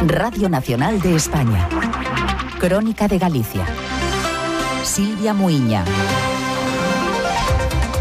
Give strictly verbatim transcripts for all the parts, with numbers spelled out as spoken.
Radio Nacional de España. Crónica de Galicia. Silvia Muiña.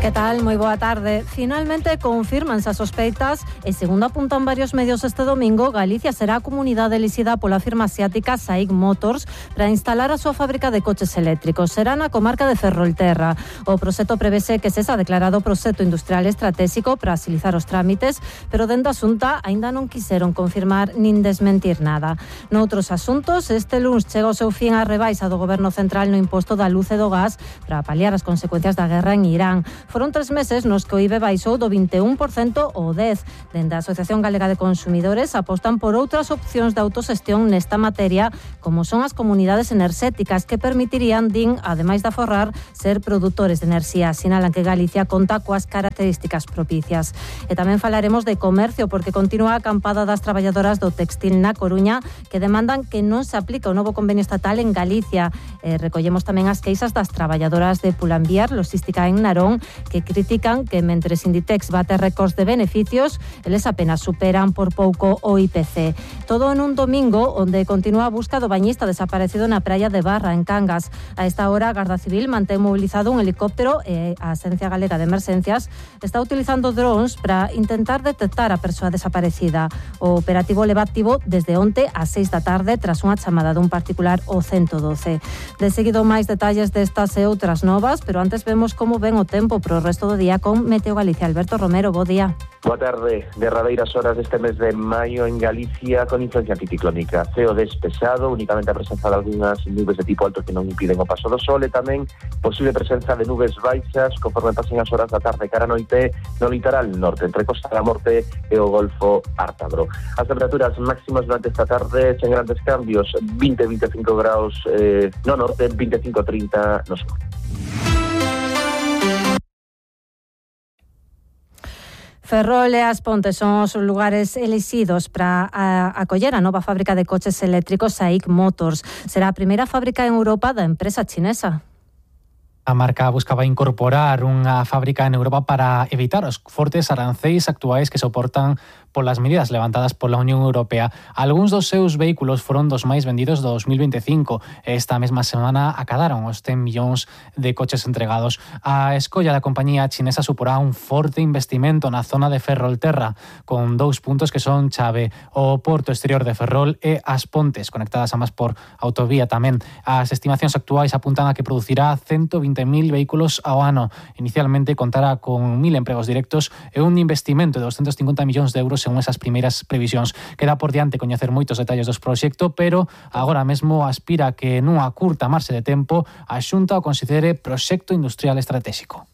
Que tal? Moi boa tarde. Finalmente confírmanse as sospeitas e, segundo apuntan varios medios este domingo, Galicia será a comunidade elixida pola firma asiática SAIC Motors para instalar a súa fábrica de coches eléctricos. Será na comarca de Ferrolterra. O proxecto prevese que sexa declarado proxecto industrial estratégico para agilizar os trámites, pero dende a Xunta aínda non quixeron confirmar nin desmentir nada. Noutros asuntos, este luns chega o seu fin a rebaixa do Goberno Central no imposto da luz e do gas para paliar as consecuencias da guerra en Irán. Foron tres meses nos que o I V E baixou do vinte e un por cento ao dez por cento. Dende a Asociación Galega de Consumidores apostan por outras opcións de autoxestión nesta materia, como son as comunidades enerxéticas, que permitirían, din, ademais de aforrar, ser produtores de enerxía. Sinalan que Galicia conta coas características propicias. E tamén falaremos de comercio, porque continúa a acampada das traballadoras do textil na Coruña, que demandan que non se aplique o novo convenio estatal en Galicia. E recollemos tamén as queixas das traballadoras de Pull&Bear Logística en Narón, que critican que mentres Inditex bate récords de beneficios, eles apenas superan por pouco o I P C. Todo en un domingo onde continúa a busca do bañista desaparecido na praia de Barra, en Cangas. A esta hora, a Garda Civil mantén mobilizado un helicóptero e a Axencia Galega de Emerxencias está utilizando drones para intentar detectar a persoa desaparecida. O operativo leva activo desde onte ás seis da tarde tras unha chamada dun particular ao ciento doce. De seguido, máis detalles destas e outras novas, pero antes vemos como ven o tempo pro resto do día con Meteo Galicia. Alberto Romero, bo día. Boa tarde. Derradeiras horas deste mes de maio en Galicia con influencia anticiclónica. Ceo despexado, únicamente a presenza de algunhas nubes de tipo alto que non impiden o paso do sol, e tamén posible presenza de nubes baixas conforme pasen as horas da tarde cara a noite no litoral norte, entre Costa da Morte e o Golfo Ártabro. As temperaturas máximas durante esta tarde sen grandes cambios, vinte a vinte e cinco graus eh, no norte, vinte e cinco a trinta no sur. Ferrol e As Pontes son os lugares elixidos para acoller a nova fábrica de coches eléctricos SAIC Motors. Será a primeira fábrica en Europa da empresa chinesa. A marca buscaba incorporar unha fábrica en Europa para evitar os fortes arancéis actuais que soportan polas medidas levantadas pola Unión Europea. Algúns dos seus vehículos foron dos máis vendidos do dos mil vinte e cinco. Esta mesma semana acadaron os cen millóns de coches entregados. A escolla da compañía chinesa suporá un forte investimento na zona de Ferrolterra, con dous puntos que son chave: o porto exterior de Ferrol e As Pontes, conectadas ambas por autovía tamén. As estimacións actuais apuntan a que producirá ciento vinte mil vehículos ao ano. Inicialmente contará con mil empregos directos e un investimento de doscientos cincuenta millóns de euros según esas primeiras previsións. Queda por diante coñecer moitos detalles dos proxecto, pero agora mesmo aspira que nunha curta marxe de tempo a Xunta o considere proxecto industrial estratégico.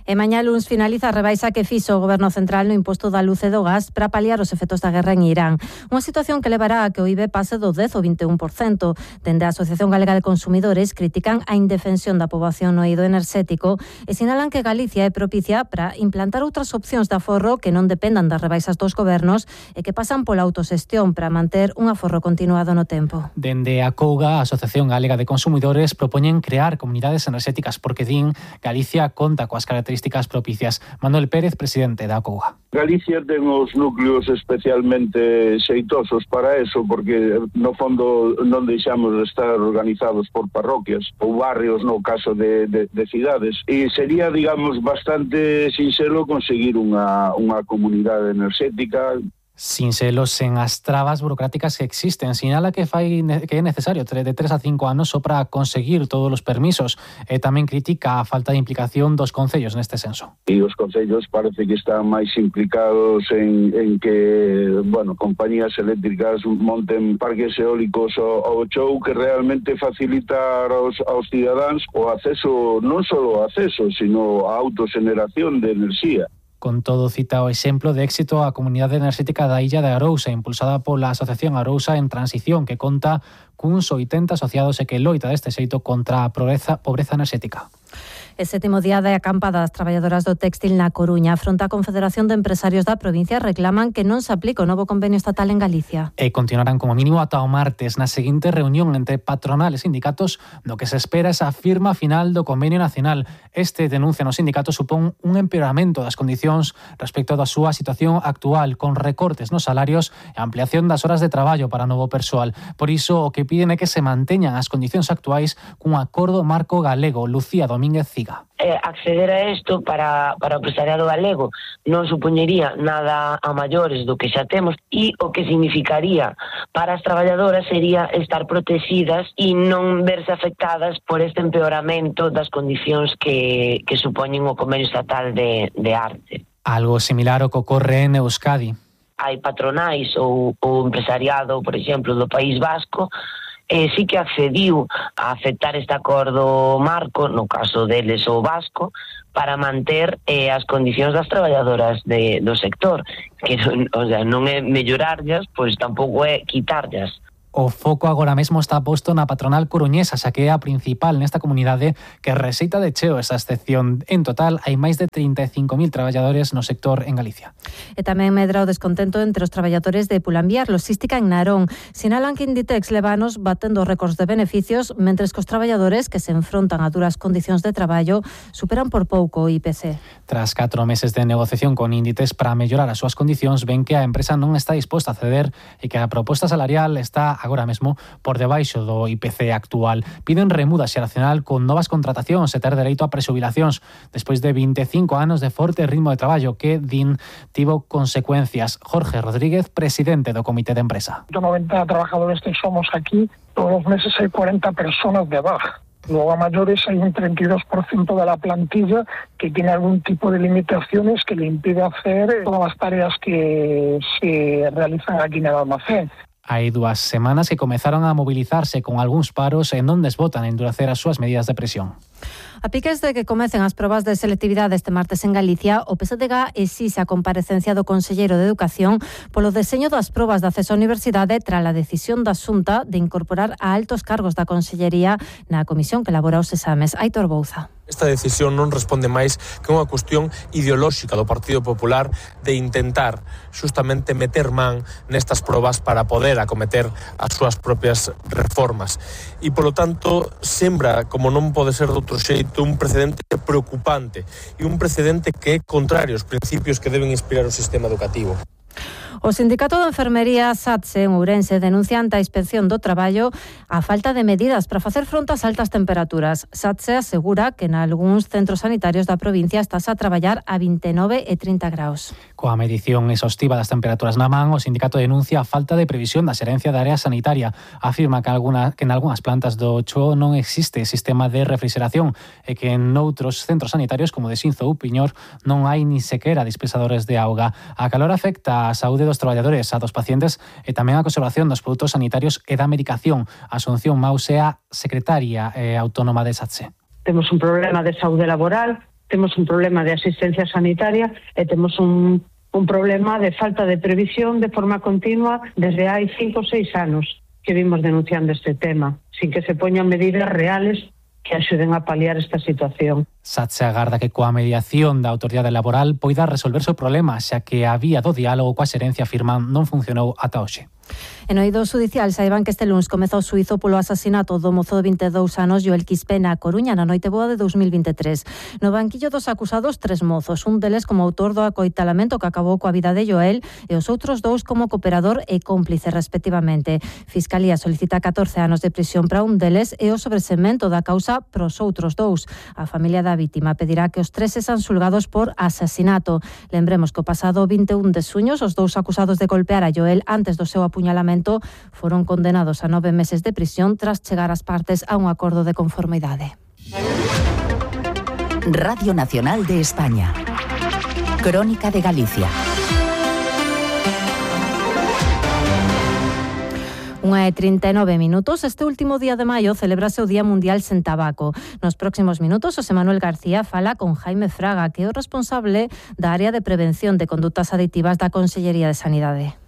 E mañá luns finaliza a rebaixa que fixo o Goberno Central no imposto da luz e do gas para paliar os efectos da guerra en Irán. Unha situación que levará a que o I V E pase do dez ao vinte e un por cento. Dende a Asociación Galega de Consumidores critican a indefensión da poboación no eido enerxético e sinalan que Galicia é propicia para implantar outras opcións de aforro que non dependan das rebaixas dos gobernos e que pasan pola autoxestión para manter un aforro continuado no tempo. Dende a Couga, a Asociación Galega de Consumidores, propoñen crear comunidades enerxéticas porque din Galicia conta coas características propicias. Manuel Pérez, presidente da Couga. Galicia ten os núcleos especialmente xeitosos para eso, porque no fondo non deixamos de estar organizados por parroquias ou barrios no caso de, de, de cidades, e sería, digamos, bastante sinxelo conseguir unha, unha comunidade enerxética sinxelos sen as trabas burocráticas que existen. Sinala que fai que é necesario de tres a cinco anos só para conseguir todos os permisos, e tamén critica a falta de implicación dos concellos neste senso. E os concellos parece que están máis implicados en, en que, bueno, compañías eléctricas monten parques eólicos ao, ao chou, que realmente facilitar aos, aos cidadáns o acceso, non só o acceso, sino a autoxeneración de enerxía. Con todo, cita o exemplo de éxito a comunidade enerxética da illa de Arousa, impulsada pola Asociación Arousa en Transición, que conta cuns oitenta asociados e que loita deste xeito contra a pobreza, pobreza enerxética. E sétimo día de acampada das traballadoras do téxtil na Coruña. Fronte á Confederación de Empresarios da provincia reclaman que non se aplique o novo convenio estatal en Galicia. E continuarán como mínimo ata o martes na seguinte reunión entre patronal e sindicatos no que se espera esa firma final do convenio nacional. Este, denuncian os sindicatos, supón un empeoramento das condicións respecto da súa situación actual, con recortes nos salarios e ampliación das horas de traballo para novo persoal. Por iso, o que piden é que se manteñan as condicións actuais cun acordo marco galego. Lucía Domínguez Ciga. Eh, acceder a isto para, para o empresariado galego non supoñería nada a maiores do que xa temos, e o que significaría para as traballadoras sería estar protegidas e non verse afectadas por este empeoramento das condicións que, que supoñen o convenio estatal de, de arte. Algo similar ao que ocorre en Euskadi. Hai patronais ou o empresariado, por exemplo, do País Vasco, Eh, sí que accediu a aceptar este acordo marco, no caso deles o vasco, para manter eh, as condicións das traballadoras de, do sector, que non, o sea, non é mellorarllas, pois tampouco é quitarllas. O foco agora mesmo está posto na patronal coruñesa, xa que é a principal nesta comunidade que receita de cheo esa excepción. En total, hai máis de trinta e cinco mil traballadores no sector en Galicia. E tamén medra o descontento entre os traballadores de Pulambiar Logística en Narón. Sinalan que Inditex leva anos batendo récords de beneficios, mentres que os traballadores que se enfrontan a duras condicións de traballo superan por pouco o I P C. Tras catro meses de negociación con Inditex para mellorar as súas condicións, ven que a empresa non está disposta a ceder e que a proposta salarial está agora mesmo por debaixo do I P C actual. Piden remuda xeracional con novas contratacións e ter dereito a presubilacións despois de vinte e cinco anos de forte ritmo de traballo que, din, tivo consecuencias. Jorge Rodríguez, presidente do Comité de Empresa. noventa trabajadores que somos aquí, todos los meses hay cuarenta personas de baja. Luego a mayores hay un treinta y dos por ciento de la plantilla que tiene algún tipo de limitaciones que le impide hacer todas las tareas que se realizan aquí en el almacén. Hai dúas semanas que comezaron a mobilizarse con algúns paros e non desbotan a endurecer as súas medidas de presión. A piques de que comecen as probas de selectividade este martes en Galicia, o P S D G exixe a comparecencia do Conselleiro de Educación polo deseño das probas de acceso á universidade tras a decisión da Xunta de incorporar a altos cargos da Consellería na comisión que elabora os exames. Aitor Bouza. Esta decisión non responde máis que unha cuestión ideolóxica do Partido Popular de intentar xustamente meter man nestas probas para poder acometer as súas propias reformas. E, polo tanto, sembra, como non pode ser de outro xeito, un precedente preocupante e un precedente que é contrario aos principios que deben inspirar o sistema educativo. O Sindicato de Enfermería SATSE en Ourense denuncia ante a Inspección do Traballo a falta de medidas para facer fronte ás altas temperaturas. SATSE asegura que en algúns centros sanitarios da provincia estás a traballar a vinte e nove e trinta graus. Coa medición exhaustiva das temperaturas na man, o sindicato denuncia a falta de previsión da Xerencia da Área Sanitaria. Afirma que, alguna, que en algunhas plantas do Choo non existe sistema de refrigeración e que en outros centros sanitarios como de Xinzo ou Piñor non hai ni sequera dispensadores de auga. A calor afecta a saúde dos traballadores, a dos pacientes e tamén a conservación dos produtos sanitarios e da medicación. Asunción Maus é a secretaria eh, autónoma de SATSE. Temos un problema de saúde laboral, temos un problema de asistencia sanitaria e temos un, un problema de falta de previsión de forma continua desde hai cinco ou seis anos que vimos denunciando este tema, sin que se poñan medidas reales que axuden a paliar esta situación. SATSE agarda que coa mediación da autoridade laboral poida resolverse o problema, xa que a vía do diálogo coa xerencia afirman non funcionou ata hoxe. En oído judicial saiban que este luns comezou o xuízo polo asasinato do mozo de vinte e dous anos Joel Quispe na Coruña na noite boa de dous mil vinte e tres. No banquillo dos acusados tres mozos, un deles como autor do acoitalamento que acabou coa vida de Joel e os outros dous como cooperador e cómplice respectivamente. Fiscalía solicita catorce anos de prisión para un deles e o sobresemento da causa pros outros dous. A familia da vítima pedirá que os tres sexan xulgados por asasinato. Lembremos que o pasado vinte e un de xuño os dous acusados de golpear a Joel antes do seu apuñalamento foron condenados a nove meses de prisión tras chegar as partes a un acordo de conformidade. Radio Nacional de España. Crónica de Galicia. Unha e trinta e nove minutos. Este último día de maio celebrase o Día Mundial sen Tabaco. Nos próximos minutos, José Manuel García fala con Jaime Fraga, que é o responsable da área de prevención de condutas aditivas da Consellería de Sanidade.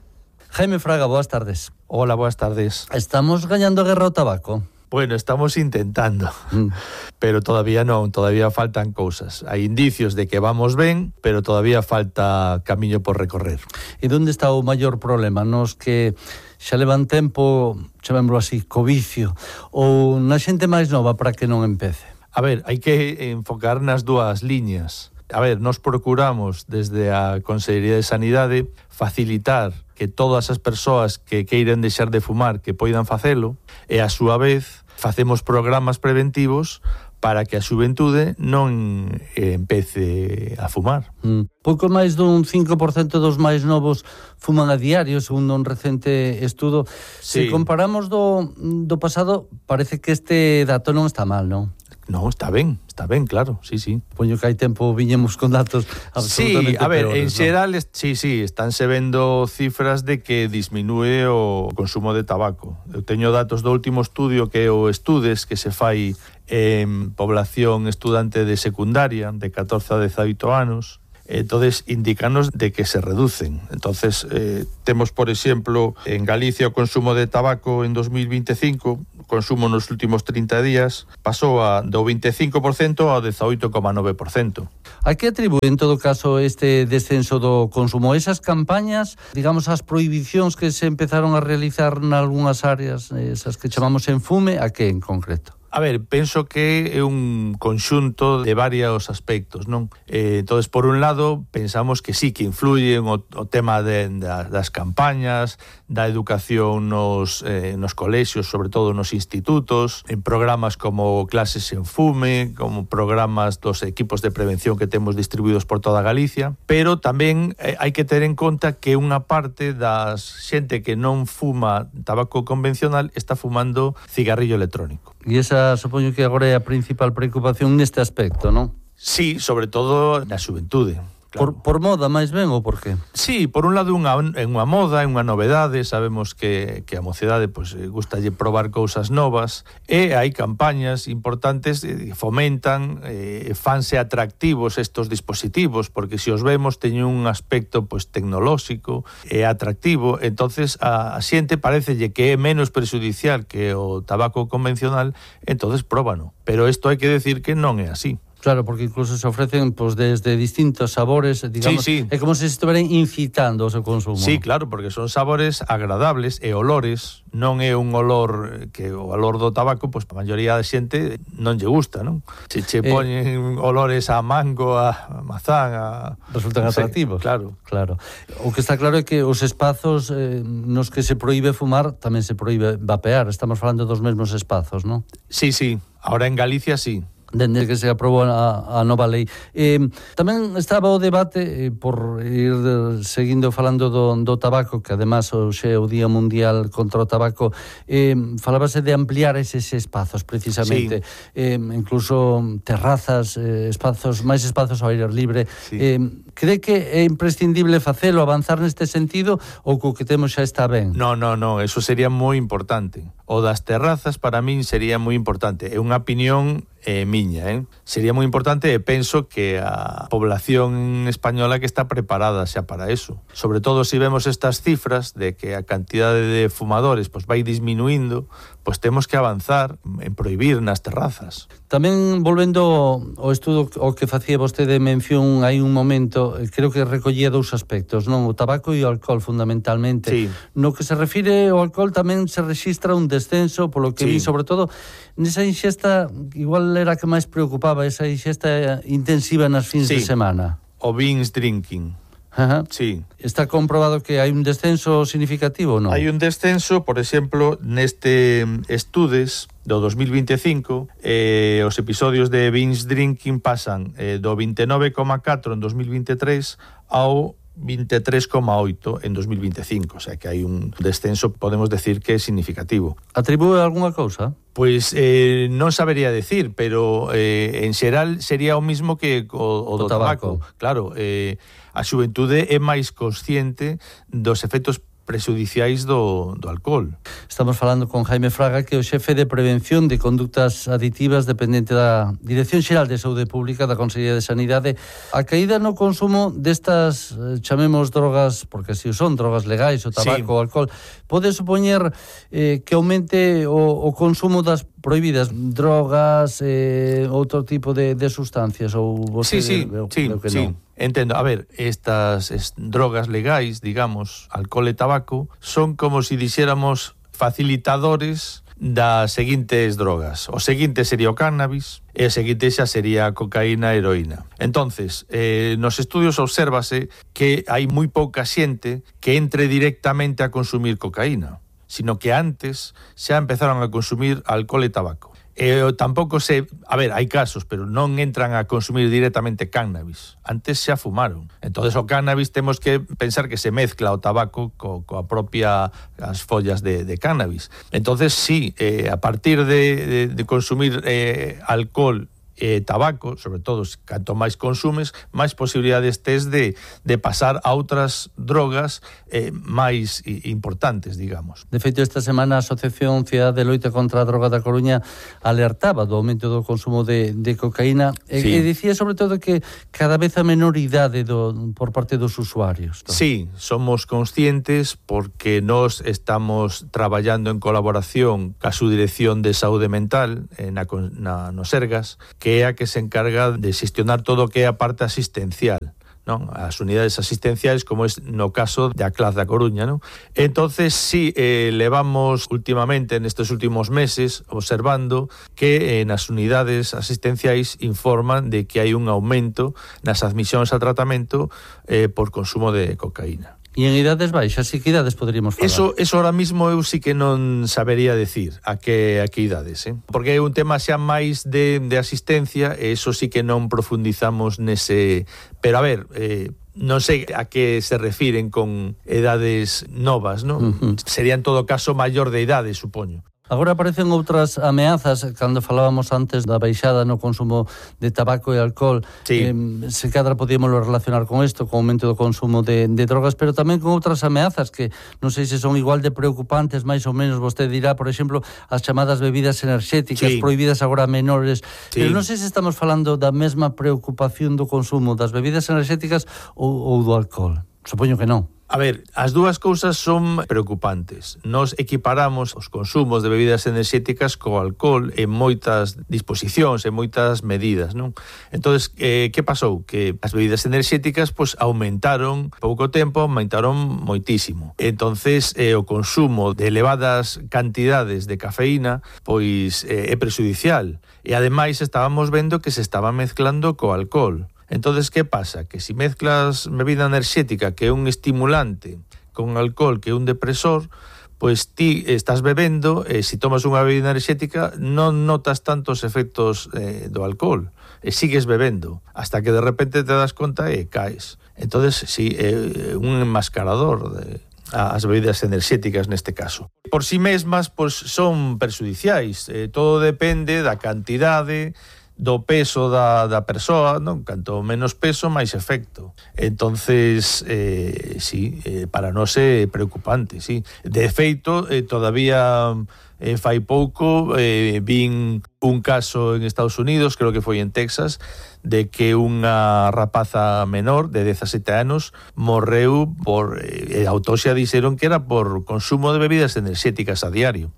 Jaime Fraga, boas tardes. Hola, boas tardes. Estamos gañando guerra ao tabaco? Bueno, estamos intentando, mm. pero todavía non, todavía faltan cousas. Hai indicios de que vamos ben, pero todavía falta camiño por recorrer. E onde está o maior problema? Nos que xa levan tempo, chamémoslo así, co vicio, ou na xente máis nova para que non empece? A ver, hai que enfocar nas dúas liñas. A ver, nos procuramos desde a Consellería de Sanidade facilitar que todas as persoas que queiren deixar de fumar que poidan facelo, e a súa vez facemos programas preventivos para que a xuventude non empece a fumar. Mm. Pouco máis dun cinco por cento dos máis novos fuman a diario, segundo un recente estudo. Sí. Se comparamos do, do pasado, parece que este dato non está mal, non? No, está ben, está ben, claro, sí, sí. Poño que hai tempo viñemos con datos absolutamente sí, a ver, peores, en xeral, ¿no? sí, sí, estánse vendo cifras de que disminúe o consumo de tabaco. Eu teño datos do último estudio que é o Estudes, que se fai en población estudante de secundaria, de catorce a dezaoito anos. Entonces, indícanos de que se reducen. Entonces, eh, temos, por exemplo, en Galicia o consumo de tabaco en dos mil veinticinco, o consumo nos últimos trinta días, pasou a, do veinticinco por cento ao dezaoito coma nove por cento. A que atribúe, en todo caso, este descenso do consumo? Esas campañas, digamos, as prohibicións que se empezaron a realizar nalgúnas áreas, esas que chamamos enfume, a que en concreto? A ver, penso que é un conxunto de varios aspectos, non? Eh, entonces, por un lado, pensamos que sí, que influye o, o tema de, da, das campañas, da educación nos, eh, nos colexios, sobre todo nos institutos, en programas como Clases en Fume, como programas dos equipos de prevención que temos distribuídos por toda Galicia, pero tamén eh, hai que ter en conta que unha parte das xente que non fuma tabaco convencional está fumando cigarrillo electrónico. E esa, supoño que agora é a principal preocupación neste aspecto, non? Sí, sobre todo na xuventude. Claro. Por, por moda, máis ben, ou por qué? Sí, por un lado unha, unha moda, unha novedade, sabemos que, que a mocidade pues, gustalle probar cousas novas, e hai campañas importantes que fomentan, eh, fanse atractivos estos dispositivos, porque se os vemos teñen un aspecto pues, tecnolóxico e atractivo, entonces a, a xente parecelle que é menos perxudicial que o tabaco convencional, entonces próbano. Pero isto hai que decir que non é así. Claro, porque incluso se ofrecen pues, desde distintos sabores, digamos, sí, sí. É como se estiveran incitando o seu consumo. Sí, claro, porque son sabores agradables e olores, non é un olor que o olor do tabaco, pois pues, a maioría da xente non lle gusta, non? Se che poñen eh, olores a mango, a mazán, a... Resultan no sé, atractivos. Claro. Claro. O que está claro é que os espazos eh, nos que se proíbe fumar tamén se proíbe vapear. Estamos falando dos mesmos espazos, non? Sí, sí. Ahora en Galicia, sí. Dende que se aprobou a, a nova lei. Eh, tamén estaba o debate, eh, por ir seguindo falando do, do tabaco, que además hoxe é o Día Mundial contra o Tabaco, eh, falábase de ampliar eses espazos, precisamente. Sí. Eh, incluso terrazas, eh, espazos, máis espazos ao aire libre. Sí. Eh, cree que é imprescindible facelo, avanzar neste sentido, ou co que temos xa está ben? No, no, no, eso sería moi importante. O das terrazas, para min, sería moi importante. É unha opinión eh, miña, eh? Sería moi importante e penso que a población española que está preparada xa para eso. Sobre todo se vemos estas cifras de que a cantidade de fumadores pues, vai disminuindo, pois pues, temos que avanzar en prohibir nas terrazas. Tamén, volvendo ao estudo ao que facía vostede mención hai un momento, creo que recollía dous aspectos, non? O tabaco e o alcohol, fundamentalmente. Sí. No que se refire ao alcohol tamén se rexistra un descenso, polo que sí. vi, sobre todo, nesa inxesta, igual era a que máis preocupaba, esa inxesta intensiva nas fins sí. de semana. O binge drinking. Ajá. Sí. Está comprobado que hai un descenso significativo, non? Hai un descenso, por exemplo, neste Estudes do dos mil veinticinco, eh, os episodios de binge drinking pasan eh, do veintinueve coma catro en dos mil veintitrés ao veintitrés coma oito en dos mil veinticinco, o sea que hai un descenso, podemos decir que é significativo. Atribúe algunha cousa? Pois eh, non sabería decir, pero eh, en xeral sería o mismo que o, o do o tabaco. tabaco. Claro, eh, a xuventude é máis consciente dos efectos prexudiciais do, do alcohol. Estamos falando con Jaime Fraga, que é o xefe de prevención de conductas aditivas dependente da Dirección Xeral de Saúde Pública da Consellería de Sanidade. A caída no consumo destas, chamemos drogas, porque si son drogas legais, o tabaco, sí, o alcohol, pode supoñer eh, que aumente o, o consumo das prohibidas drogas, eh, outro tipo de, de sustancias? Ou sí, sí, veo, sí, veo que sí. non. Entendo, a ver, estas es, drogas legais, digamos, alcohol e tabaco, son como si dixéramos facilitadores das seguintes drogas. O seguinte sería o cannabis e o seguinte xa sería a cocaína e heroína. Entonces, eh, nos estudios obsérvase que hai moi pouca xente que entre directamente a consumir cocaína, sino que antes xa empezaron a consumir alcohol e tabaco. Eh, tampouco se... A ver, hai casos, pero non entran a consumir directamente cannabis. Antes xa fumaron. Entonces o cannabis temos que pensar que se mezcla o tabaco co, coa propia as follas de, de cannabis. Entonces sí, eh, a partir de, de, de consumir eh, alcohol e tabaco, sobre todo, canto máis consumes, máis posibilidades tes de, de pasar a outras drogas eh, máis importantes, digamos. De feito, esta semana a Asociación Cidade de Loita contra a Droga da Coruña alertaba do aumento do consumo de, de cocaína e, sí. e dicía sobre todo que cada vez a menor idade do, por parte dos usuarios. Todo. Sí, somos conscientes porque nós estamos traballando en colaboración ca Subdirección de Saúde Mental eh, na, na, no Sergas, que que é a que se encarga de xestionar todo o que é a parte asistencial, non? As unidades asistenciais, como é no caso de A C L A S da Coruña, non? Entonces, sí, eh, levamos últimamente, nestes últimos meses, observando que eh, nas unidades asistenciais informan de que hai un aumento nas admisións a tratamento eh, por consumo de cocaína. E en idades baixas, e que idades poderíamos falar? Eso, eso ahora mismo eu sí que non sabería decir a que, a que idades, eh? Porque é un tema xa máis de, de asistencia e eso sí que non profundizamos nese... Pero a ver... Eh, non sei a que se refiren con edades novas, non? Uh-huh. Sería en todo caso maior de idade, supoño. Agora aparecen outras ameazas, cando falábamos antes da baixada no consumo de tabaco e alcohol, sí. eh, se cadra podíamos relacionar con isto, con o aumento do consumo de, de drogas, pero tamén con outras ameazas que non sei se son igual de preocupantes, máis ou menos, vostede dirá, por exemplo, as chamadas bebidas enerxéticas, sí. prohibidas agora a menores, sí. pero non sei se estamos falando da mesma preocupación do consumo das bebidas enerxéticas ou, ou do alcohol. Supoño que non. A ver, as dúas cousas son preocupantes. Nos equiparamos os consumos de bebidas enerxéticas co alcohol en moitas disposicións, en moitas medidas, non? Entonces, eh, que pasou? Que as bebidas enerxéticas pois aumentaron pouco tempo, aumentaron moitísimo. Entonces, eh, o consumo de elevadas cantidades de cafeína pois eh, é prexudicial. E ademais estábamos vendo que se estaba mezclando co alcohol. Entonces, que pasa? Que si mezclas bebida enerxética, que é un estimulante, con alcohol, que é un depresor, pois ti estás bebendo e se tomas unha bebida enerxética non notas tantos efectos eh, do alcohol e sigues bebendo hasta que de repente te das conta e caes. Entonces, si, é un enmascarador de as bebidas enerxéticas neste caso. Por si mesmas, pois son perxudiciais. Eh, todo depende da cantidade, do peso da, da persoa, non? Canto menos peso, máis efecto. Entonces, eh, sí, eh, para nós é preocupante, sí. De feito, eh, todavía eh, fai pouco eh, vin un caso en Estados Unidos, creo que foi en Texas, de que unha rapaza menor de dezasete anos morreu por... Eh, a autopsia dixeron que era por consumo de bebidas enerxéticas a diario.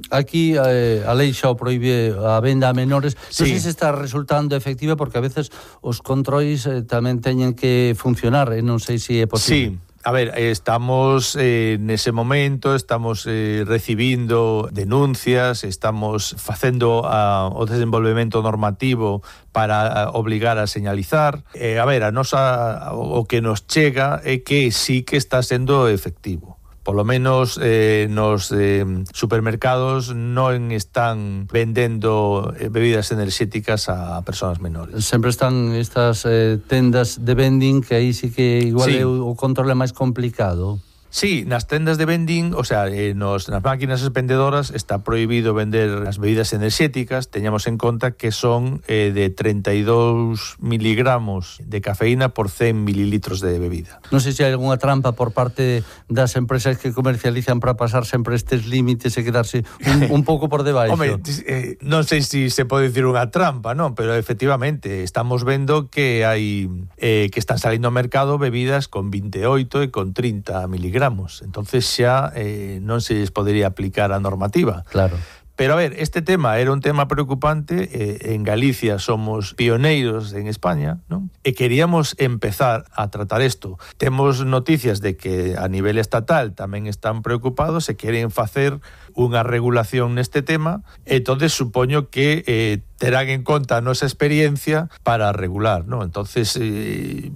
Aquí eh, a lei xa o proíbe a venda a menores. Sí. Non sei se está resultando efectiva porque a veces os controis eh, tamén teñen que funcionar e non sei se é posible. Sí. A ver, estamos eh, nese momento, estamos eh, recibindo denuncias, estamos facendo uh, o desenvolvemento normativo para uh, obligar a señalizar. Eh, a ver, a nosa, o que nos chega é que sí que está sendo efectivo. Por lo menos eh, nos eh, supermercados non están vendendo eh, bebidas enerxéticas a persoas menores. Sempre están estas eh, tendas de vending que aí sí que igual sí. é o, o controle máis complicado. Sí, nas tendas de vending, o sea, eh, nos, nas máquinas expendedoras está prohibido vender as bebidas enerxéticas. Teñamos en conta que son eh, de treinta e dous miligramos de cafeína por cen mililitros de bebida. Non sei se hai algunha trampa por parte das empresas que comercializan para pasar sempre estes límites e quedarse un, un pouco por debaixo. Home, eh, non sei se se pode dicir unha trampa, non, pero efectivamente estamos vendo que hai eh, que están salindo ao mercado bebidas con vinte e oito e con trinta miligramos. Entonces xa eh, non se les podería aplicar a normativa. Claro. Pero a ver, este tema era un tema preocupante, eh, en Galicia somos pioneiros en España, ¿no? E queríamos empezar a tratar isto. Temos noticias de que a nivel estatal tamén están preocupados e queren facer unha regulación neste tema, entonces supoño que eh, terán en conta a nosa experiencia para regular, ¿no? Entonces eh,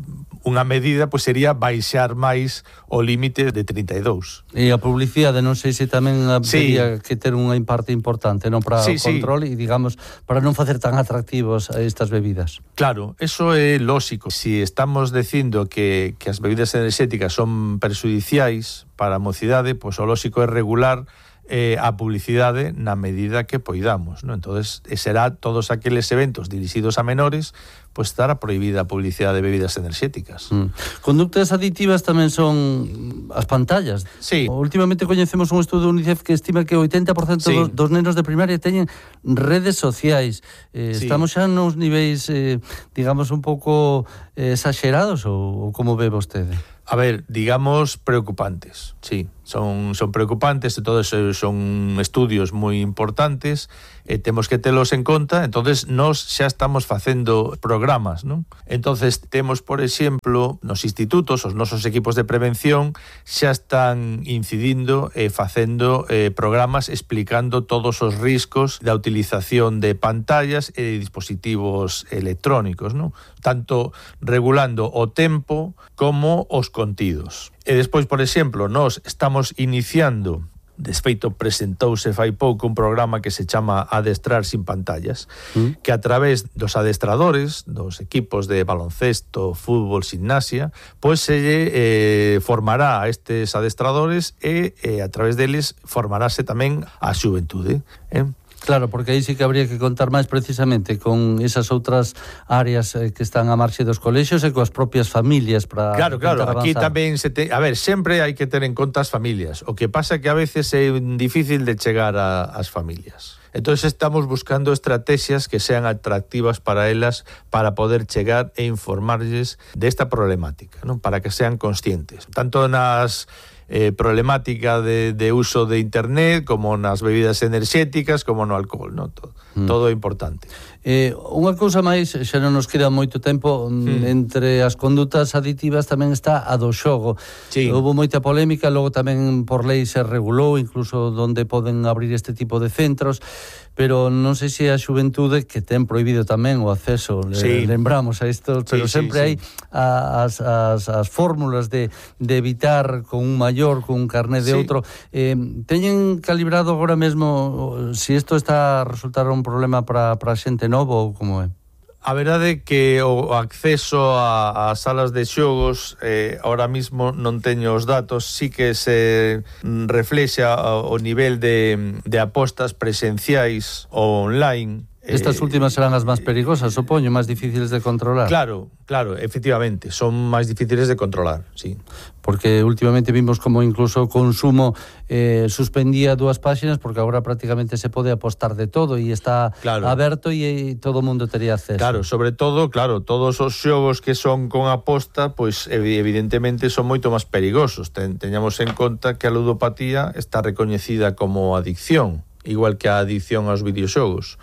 unha medida pois sería baixar máis o límite de trinta e dous. E a publicidade non sei se tamén habería sí. que ter unha parte importante, non, para sí, o control sí. e digamos para non facer tan atractivos a estas bebidas. Claro, eso é lóxico. Si estamos dicindo que, que as bebidas enerxéticas son perxudiciais para a mocidade, pois o lóxico é regular eh, a publicidade na medida que poidamos, ¿no? Entonces, será todos aqueles eventos dirixidos a menores, pois estará prohibida a publicidade de bebidas enerxéticas. Mm. Conductas aditivas tamén son as pantallas. Sí. Últimamente coñecemos un estudo do UNICEF que estima que o oitenta por cento sí. dos, dos nenos de primaria teñen redes sociais. Eh, sí. Estamos xa nos niveis, eh, digamos, un pouco eh, exagerados ou, ou como ve vostede? A ver, digamos, preocupantes, sí, son, son preocupantes, e todos son estudios moi importantes, e temos que telos en conta. Entonces nós xa estamos facendo programas, non? Entonces temos, por exemplo, nos institutos, os nosos equipos de prevención xa están incidindo e facendo eh, programas explicando todos os riscos da utilización de pantallas e de dispositivos electrónicos, non? Tanto regulando o tempo como os contidos. E despois, por exemplo, nós estamos iniciando, desfeito presentouse fai pouco un programa que se chama Adestrar sin pantallas, mm. que a través dos adestradores, dos equipos de baloncesto, fútbol, gimnasia, pois se eh, formará a estes adestradores e eh, a través deles formarase tamén a xuventude, eh? Claro, porque aí sí que habría que contar máis precisamente con esas outras áreas eh, que están a marxe dos colexios e coas propias familias para Claro, claro, aquí avanzar. tamén se te... A ver, sempre hai que ter en conta as familias. O que pasa é que a veces é difícil de chegar a, as familias. Entonces estamos buscando estrategias que sean atractivas para elas para poder chegar e informarlles desta problemática, ¿no? Para que sean conscientes. Tanto nas eh, problemática de, de uso de internet como nas bebidas enerxéticas como no alcohol, ¿no? Todo, mm. todo é importante. Eh, unha cousa máis, xa non nos queda moito tempo, mm. entre as condutas aditivas tamén está a do xogo. Sí. Houve moita polémica, logo tamén por lei se regulou incluso onde poden abrir este tipo de centros, pero non sei se a xuventude que ten prohibido tamén o acceso, sí. lembramos a isto, pero sí, sempre sí, hai sí. as, as, as fórmulas de, de evitar con un maior, con un carné de sí. outro. Eh, teñen calibrado agora mesmo se si isto está a resultar un problema para a xente novo ou como é? A verdade é que o acceso a, a salas de xogos eh, ahora mismo non teño os datos, sí que se reflexa o nivel de, de apostas presenciais ou online. Estas últimas serán as máis perigosas, supoño, máis difíciles de controlar. Claro, claro, efectivamente, son máis difíciles de controlar, sí. Porque últimamente vimos como incluso o consumo eh, suspendía dúas páxinas porque agora prácticamente se pode apostar de todo e está claro. aberto e, e todo o mundo tería acceso. Claro, sobre todo, claro, todos os xogos que son con aposta, pois evidentemente son moito máis perigosos. Ten, teñamos en conta que a ludopatía está recoñecida como adicción, igual que a adicción aos videoxogos.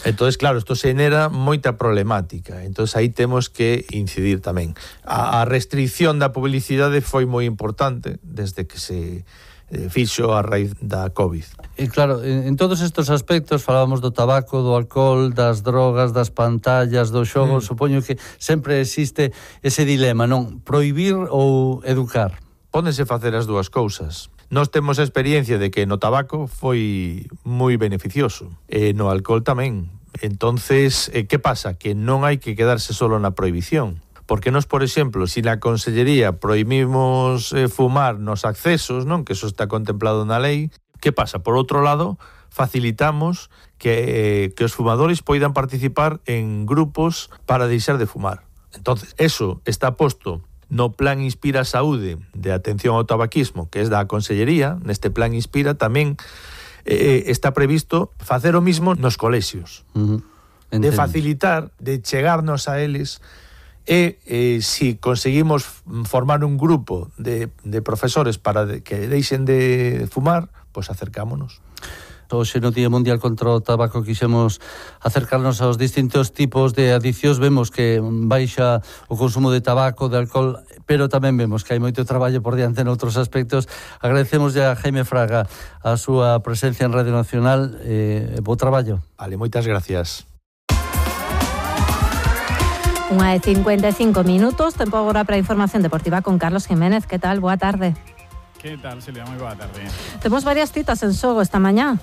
Entonces, claro, isto xenera moita problemática. Entonces aí temos que incidir tamén. A, a restricción da publicidade foi moi importante desde que se eh, fixo a raíz da COVID. E claro, en, en todos estes aspectos falábamos do tabaco, do alcohol, das drogas, das pantallas, dos xogos, mm. supoño que sempre existe ese dilema, non? Prohibir ou educar? Pódense facer as dúas cousas. Nós temos a experiencia de que no tabaco foi moi beneficioso, e no alcohol tamén. Entonces, eh, que pasa? Que non hai que quedarse solo na prohibición, porque nos, por exemplo, si na Consellería prohibimos eh, fumar nos accesos, non, que eso está contemplado na lei, que pasa? Por outro lado, facilitamos que, eh, que os fumadores poidan participar en grupos para deixar de fumar. Entonces, eso está posto no Plan Inspira Saúde de atención ao tabaquismo, que é da Consellería. Neste Plan Inspira tamén eh, está previsto facer o mismo nos colexios. Uh-huh. De facilitar, de chegarnos a eles, e eh, si conseguimos formar un grupo de, de profesores para de, que deixen de fumar, pois pues acercámonos. Hoxe no Día Mundial contra o Tabaco quixemos acercarnos aos distintos tipos de adiccións. Vemos que baixa o consumo de tabaco, de alcohol, pero tamén vemos que hai moito traballo por diante noutros aspectos. Agradecemos a Jaime Fraga a súa presencia en Radio Nacional. Eh, bo traballo. Vale, moitas gracias. Unha de cincuenta e cinco minutos, tempo agora para a información deportiva con Carlos Jiménez. Que tal? Boa tarde. Que tal, Silvia? Moi boa tarde. Temos varias citas en xogo esta mañá.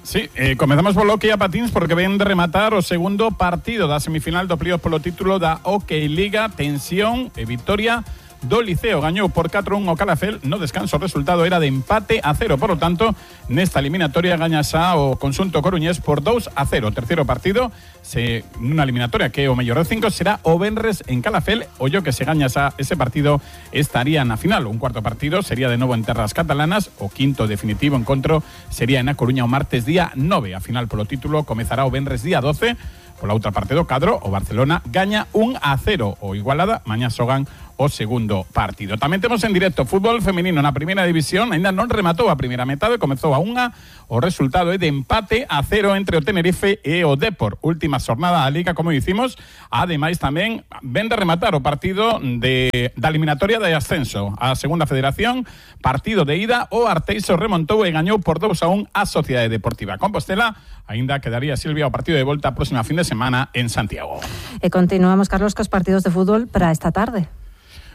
Sí, eh, comezamos polo hockey a patins porque ven de rematar o segundo partido da semifinal do playoff polo título da Hockey Liga. Tensión e victoria do Liceo, gañou por catro a un o Calafel no descanso. O resultado era de empate a cero, por lo tanto nesta eliminatoria gaña xa o conxunto coruñés por dous a cero. O terceiro partido se nunha eliminatoria que o mellor de cinco será o venres en Calafel. O yo que se gaña xa ese partido estaría na final. Un cuarto partido sería de novo en terras catalanas. O quinto definitivo encontro sería en A Coruña o martes día nove. A final polo título comezará o venres día doce. Pola outra parte do cadro, o Barcelona gaña un a cero. O Igualada mañá xogan o segundo partido. Tamén temos en directo fútbol feminino na primeira división. Ainda non rematou a primeira metade, comezou a unha. O resultado é de empate a cero entre o Tenerife e o Depor. Última xornada da Liga, como dicimos. Ademais tamén ven de rematar o partido de, da eliminatoria de ascenso. A segunda federación, partido de ida, o Arteixo remontou e gañou por dous a un a Sociedade Deportiva Compostela. Ainda quedaría, Silvia, o partido de volta a próxima fin de semana en Santiago. E continuamos, Carlos, cos partidos de fútbol para esta tarde.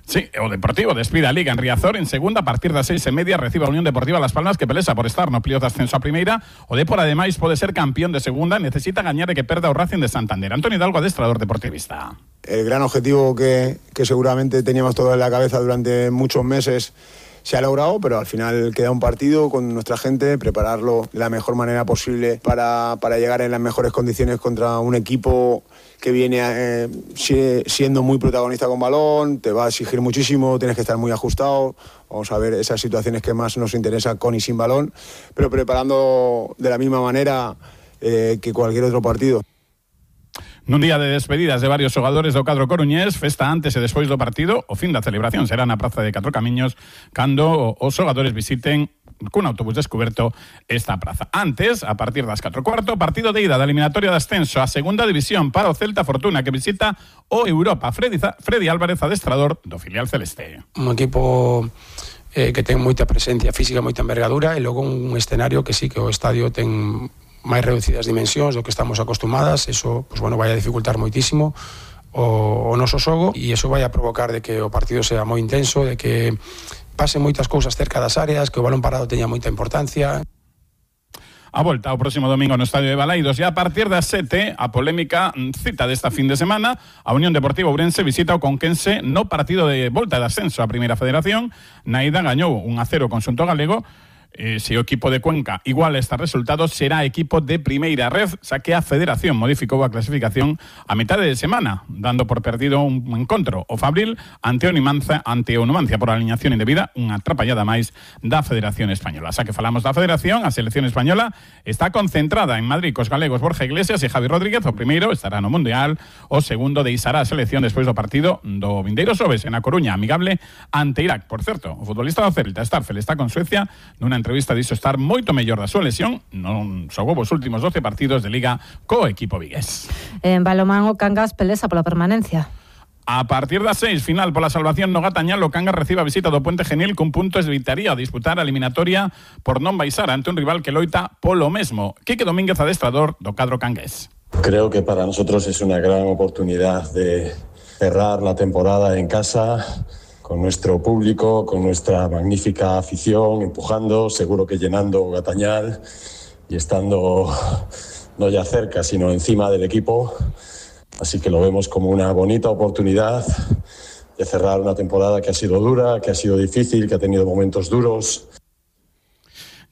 Sí, o Deportivo despide a Liga en Riazor en segunda, a partir das seis e media recibe a Unión Deportiva Las Palmas, que pelesa por estar no playoff de ascenso a primeira. O Depor ademais pode ser campeón de segunda, necesita gañar e que perda o Racing de Santander. Antonio Hidalgo, adestrador deportivista. El gran objetivo que, que seguramente teníamos todo en la cabeza durante muchos meses se ha logrado, pero al final queda un partido con nuestra gente, prepararlo de la mejor manera posible para, para llegar en las mejores condiciones contra un equipo que viene eh, siendo muy protagonista con balón, te va a exigir muchísimo, tienes que estar muy ajustado. Vamos a ver esas situaciones que más nos interesa con y sin balón, pero preparando de la misma manera eh, que cualquier otro partido. Nun día de despedidas de varios xogadores do cadro coruñés, festa antes e despois do partido, o fin da celebración será na Praza de Catro Camiños cando os xogadores visiten cun autobús descuberto esta praza. Antes, a partir das catro e cuarto, partido de ida da eliminatoria de ascenso a segunda división para o Celta Fortuna, que visita o Europa. Freddy, Freddy Álvarez, adestrador do filial celeste. Un equipo eh, que ten moita presencia física, moita envergadura, e logo un escenario que sí que o estadio ten máis reducidas dimensións do que estamos acostumadas. Eso, pues bueno, vai a dificultar moitísimo o, o noso xogo, e eso vai a provocar de que o partido sea moi intenso, de que pasen moitas cousas cerca das áreas, que o balón parado teña moita importancia. A volta o próximo domingo no Estadio de Balaidos, e a partir das sete, a polémica cita desta fin de semana, a Unión Deportiva Ourense visita o Conquense no partido de volta de ascenso á Primeira Federación. Na ida gañou un a cero con Xunto Galego. Eh, se o equipo de Cuenca igual estes resultados, será equipo de primeira red, xa que a Federación modificou a clasificación a metade de semana, dando por perdido un encontro o Fabril ante o Numancia, ante o Numancia por alineación indebida, unha atrapallada máis da Federación Española. Xa que falamos da Federación, a selección española está concentrada en Madrid cos galegos Borja Iglesias e Javi Rodríguez. O primeiro estará no Mundial, o segundo deixará a selección despois do partido do vindeiro xoves en A Coruña, amigable ante Irak. Por certo, o futbolista do Celta, Starfel, está con Suecia nunha entrevista dixo estar moito mellor da súa lesión, non xogou os últimos doce partidos de Liga co equipo vigués. En balomán, o Cangas pelesa pola permanencia. A partir das seis, final pola salvación no Gatañal, o Cangas recibe a visita do Puente Genil cun punto evitaría disputar a eliminatoria por non baixar ante un rival que loita polo mesmo. Quique Domínguez, adestrador do cadro cangués. Creo que para nosotros es una gran oportunidad de cerrar la temporada en casa, con nuestro público, con nuestra magnífica afición, empujando, seguro que llenando Gatañal y estando no ya cerca, sino encima del equipo, Así que lo vemos como una bonita oportunidad de cerrar una temporada que ha sido dura, que ha sido difícil, que ha tenido momentos duros.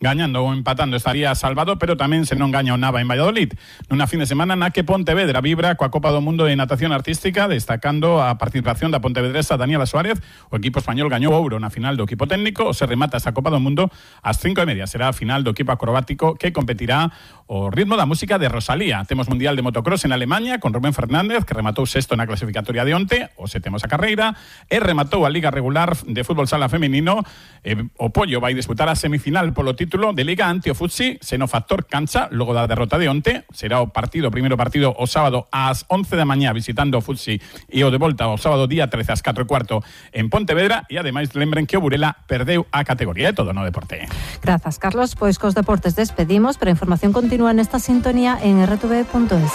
Gañando ou empatando estaría salvado, pero tamén se non gaña o Nava en Valladolid. Nunha fin de semana na que Pontevedra vibra coa Copa do Mundo de Natación Artística, destacando a participación da pontevedresa Daniela Suárez. O equipo español gañou ouro na final do equipo técnico. Se remata esta Copa do Mundo ás cinco e media. Será a final do equipo acrobático que competirá o ritmo da música de Rosalía. Temos Mundial de Motocross en Alemanha con Rubén Fernández, que rematou sexto na clasificatoria de onte. O se temos a carreira e rematou a Liga Regular de Fútbol Sala Femenino. E o Pollo vai disputar a semifinal polo título de Liga ante o Futsi, seno factor cancha, logo da derrota de onte. Será o partido, o primeiro partido o sábado ás once da mañá visitando o Futsi e o de volta o sábado día trece ás catro e cuarto en Pontevedra. E ademais lembren que o Burela perdeu a categoría de todo no deporte. Grazas, Carlos. Pois cos deportes despedimos, pero a información continúa nesta sintonía en erre te ve punto es.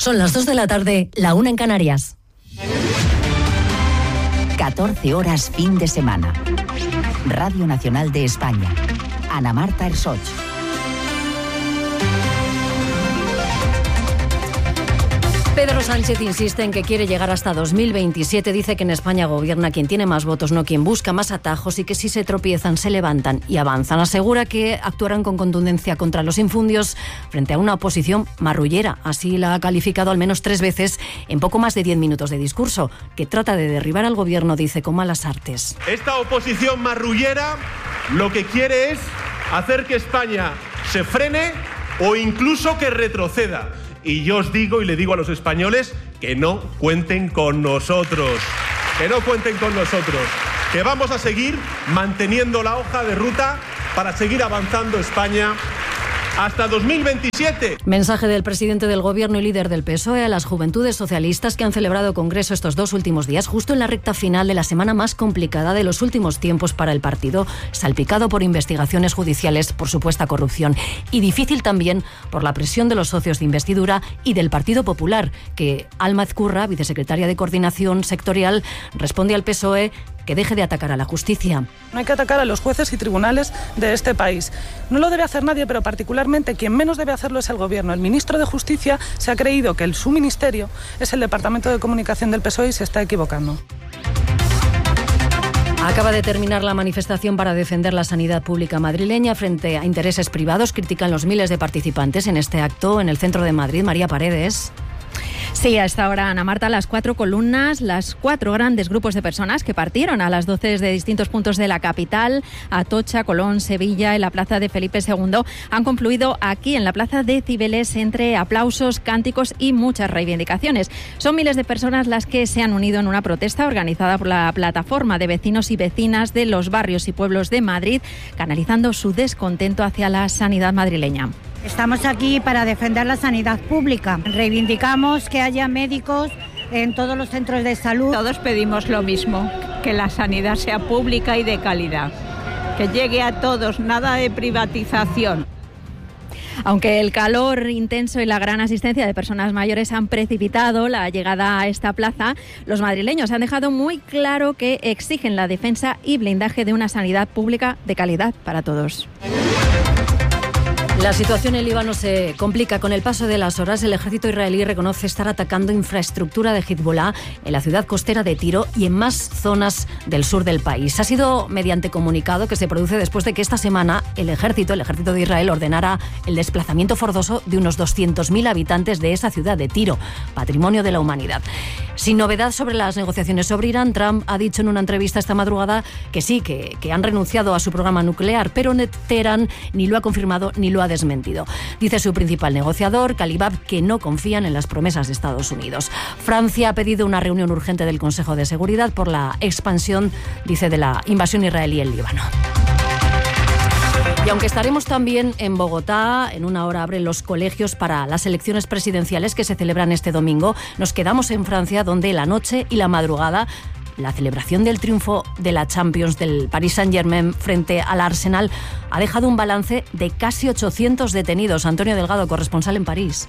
Son las dos de la tarde, la una en Canarias. catorce horas fin de semana. Radio Nacional de España. Ana Marta Ersoch. Pedro Sánchez insiste en que quiere llegar hasta dos mil veintisiete. Dice que en España gobierna quien tiene más votos, no quien busca más atajos, y que si se tropiezan, se levantan y avanzan. Asegura que actuarán con contundencia contra los infundios frente a una oposición marrullera. Así la ha calificado al menos tres veces en poco más de diez minutos de discurso, que trata de derribar al gobierno, dice, con malas artes. Esta oposición marrullera lo que quiere es hacer que España se frene o incluso que retroceda. Y yo os digo y le digo a los españoles que no cuenten con nosotros, que no cuenten con nosotros, que vamos a seguir manteniendo la hoja de ruta para seguir avanzando España hasta dos mil veintisiete. Mensaje del presidente del gobierno y líder del P S O E a las juventudes socialistas que han celebrado congreso estos dos últimos días, justo en la recta final de la semana más complicada de los últimos tiempos para el partido, salpicado por investigaciones judiciales por supuesta corrupción y difícil también por la presión de los socios de investidura y del Partido Popular, que Alma Ezcurra, vicesecretaria de Coordinación Sectorial, responde al P S O E que deje de atacar a la justicia. No hay que atacar a los jueces y tribunales de este país. No lo debe hacer nadie, pero particularmente quien menos debe hacerlo es el gobierno. El ministro de Justicia se ha creído que el, su ministerio es el Departamento de Comunicación del P S O E y se está equivocando. Acaba de terminar la manifestación para defender la sanidad pública madrileña frente a intereses privados. Critican los miles de participantes en este acto en el centro de Madrid. María Paredes. Sí, a esta hora, Ana Marta, las cuatro columnas, las cuatro grandes grupos de personas que partieron a las doce de distintos puntos de la capital, Atocha, Colón, Sevilla, en la plaza de Felipe segundo, han confluido aquí en la plaza de Cibeles entre aplausos, cánticos y muchas reivindicaciones. Son miles de personas las que se han unido en una protesta organizada por la plataforma de vecinos y vecinas de los barrios y pueblos de Madrid, canalizando su descontento hacia la sanidad madrileña. Estamos aquí para defender la sanidad pública. Reivindicamos que haya médicos en todos los centros de salud. Todos pedimos lo mismo, que la sanidad sea pública y de calidad, que llegue a todos, nada de privatización. Aunque el calor intenso y la gran asistencia de personas mayores han precipitado la llegada a esta plaza, los madrileños han dejado muy claro que exigen la defensa y blindaje de una sanidad pública de calidad para todos. La situación en Líbano se complica. Con el paso de las horas, el ejército israelí reconoce estar atacando infraestructura de Hezbollah en la ciudad costera de Tiro y en más zonas del sur del país. Ha sido mediante comunicado que se produce después de que esta semana el ejército, el ejército de Israel, ordenara el desplazamiento forzoso de unos doscientos mil habitantes de esa ciudad de Tiro, patrimonio de la humanidad. Sin novedad sobre las negociaciones sobre Irán, Trump ha dicho en una entrevista esta madrugada que sí, que, que han renunciado a su programa nuclear, pero Teherán ni lo ha confirmado ni lo ha desmentido. Dice su principal negociador, Kalibab, que no confían en las promesas de Estados Unidos. Francia ha pedido una reunión urgente del Consejo de Seguridad por la expansión, dice, de la invasión israelí en Líbano. Y aunque estaremos también en Bogotá, en una hora abren los colegios para las elecciones presidenciales que se celebran este domingo, nos quedamos en Francia, donde la noche y la madrugada, la celebración del triunfo de la Champions del Paris Saint-Germain frente al Arsenal ha dejado un balance de casi ochocientos detenidos. Antonio Delgado, corresponsal en París.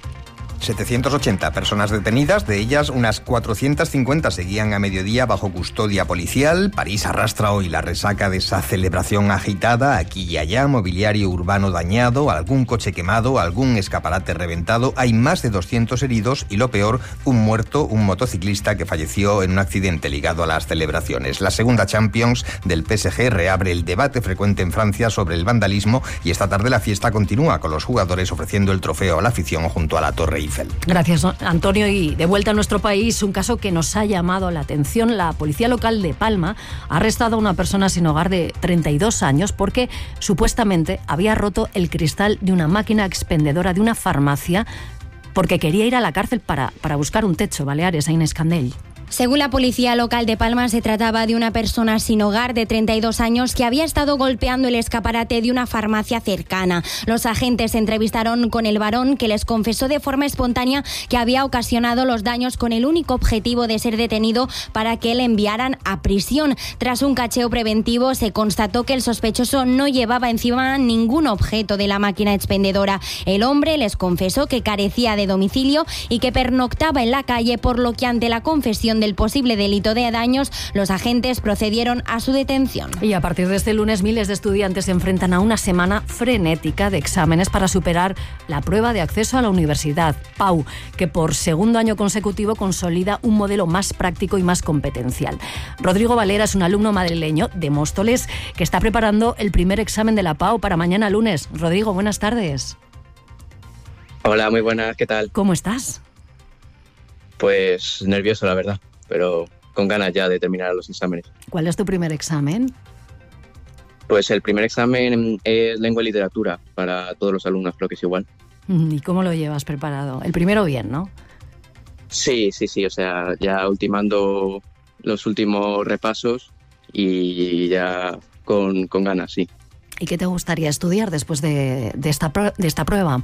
setecientas ochenta personas detenidas, de ellas unas cuatrocientas cincuenta seguían a mediodía bajo custodia policial. París arrastra hoy la resaca de esa celebración agitada, aquí y allá, mobiliario urbano dañado, algún coche quemado, algún escaparate reventado. Hay más de doscientos heridos y, lo peor, un muerto, un motociclista que falleció en un accidente ligado a las celebraciones. La segunda Champions del P S G reabre el debate frecuente en Francia sobre el vandalismo y esta tarde la fiesta continúa con los jugadores ofreciendo el trofeo a la afición junto a la Torre Eiffel. Gracias, Antonio. Y de vuelta a nuestro país, un caso que nos ha llamado la atención. La policía local de Palma ha arrestado a una persona sin hogar de treinta y dos años porque supuestamente había roto el cristal de una máquina expendedora de una farmacia porque quería ir a la cárcel para, para buscar un techo. Baleares, a Inés Candell. Según la policía local de Palma, se trataba de una persona sin hogar de treinta y dos años que había estado golpeando el escaparate de una farmacia cercana. Los agentes se entrevistaron con el varón, que les confesó de forma espontánea que había ocasionado los daños con el único objetivo de ser detenido para que le enviaran a prisión. Tras un cacheo preventivo, se constató que el sospechoso no llevaba encima ningún objeto de la máquina expendedora. El hombre les confesó que carecía de domicilio y que pernoctaba en la calle, por lo que ante la confesión del posible delito de daños, los agentes procedieron a su detención. Y a partir de este lunes, miles de estudiantes se enfrentan a una semana frenética de exámenes para superar la prueba de acceso a la universidad, P A U, que por segundo año consecutivo consolida un modelo más práctico y más competencial. Rodrigo Valera es un alumno madrileño de Móstoles que está preparando el primer examen de la P A U para mañana lunes. Rodrigo, buenas tardes. Hola, muy buenas, ¿qué tal? ¿Cómo estás? Pues nervioso, la verdad, pero con ganas ya de terminar los exámenes. ¿Cuál es tu primer examen? Pues el primer examen es lengua y literatura, para todos los alumnos creo que es igual. ¿Y cómo lo llevas preparado? El primero bien, ¿no? Sí, sí, sí, o sea, ya ultimando los últimos repasos y ya con, con ganas, sí. ¿Y qué te gustaría estudiar después de, de, esta, de esta prueba?